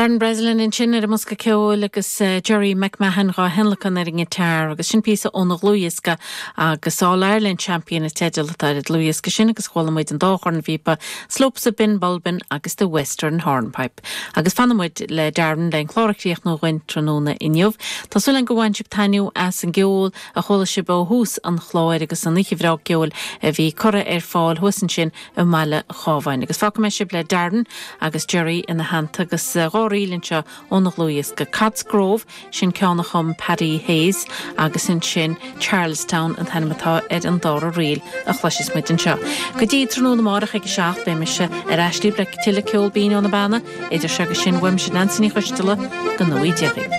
Darren Breslin ansin ar an mbosca ceoil agus Gerry McMahon dhá thionlacan ar an ngiotár agus sin píosa óna dhlúthdhiosca agus All Ireland Champion an teideal atá ar an dlúthdhiosca sin agus chuala muid an dá chornphíopa, Slopes of Benbulben agus The Western Hornpipe. Agus fanfaidh muid le Darren le an clár a chríochnú dhuinn tráthnóna inniu. Tá súil agam gur bhain sibh taitneamh as an gceol a chuala sibh ó thús an chláir agus an oíche bhreá ceoil a bhí curtha ar fáil thuas ansin i mBaile Chábháin. Agus fágfaidh mé sibh le Darren agus Gerry ina theannta agus dhá ríl anseo óna dhlúthdhiosca, Cods Grove, sin ceann a chum Paddy Hayes, agus ansin Charlestown an t-ainm atá ar an dara ríl a chloisfeas muid anseo. Go dtí tráthnóna amárach ag a 7, beidh mise ar ais libh le tuilleadh ceol binn ó na Beanna, idir seo agus sin, uaimse Neansaí Ní Choisdealbha, go ngnóthaí Dia dhaoibh.